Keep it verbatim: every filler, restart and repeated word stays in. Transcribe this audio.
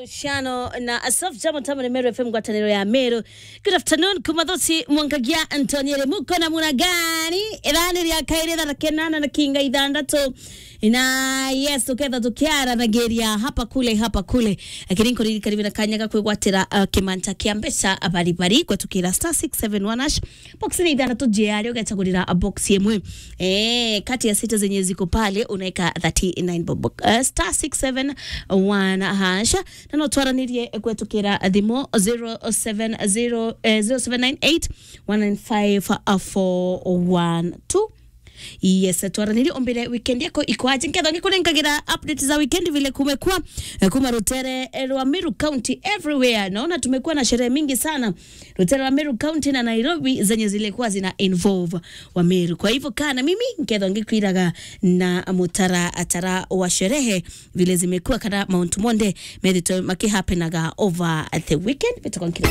Shano na Asaf Jamo Tamani Meru F M ngwataniro ya Meru. Good afternoon, Kumathosi Mwangagia Antonio Remuko na Munagani. Ithani ria kairi thaa kinana na kinga ithandatu. Na yes, tuketha tukiaranagiria hapa kule, hapa kule. Lakini nkuririkania bina kanya ga kwigwatira, uh, kimanta kia mbeca bari bari gwetukira star six seven one hash. Box ni ithandatu jiari ugechagurira box imwe. Eh, kati ya sita zenye ziko pale unaeka thirty-nine bob. Uh, star six seven one hash. Na no twaranirie kwetukira thimu zero seven zero, eh, zero seven nine eight one nine five four one two. Yes, twaranirie umbire weekend yako iko aje. Nketho ngikunenkagira updates za weekend vile kumekuwa, eh, kuma rutere, eh, rwa Meru County everywhere. Naona tumekuwa na sherehe mingi sana. Rutere rwa Meru County na Nairobi zenye zilikuwa zina involve wa Meru. Kwa hivyo kaa na mimi, nketho ngikwiraga na mutaratara wa sherehe vile zimekuwa kana mauntu monthe methitwe makihapenaga over the weekend. Betagwa nkira.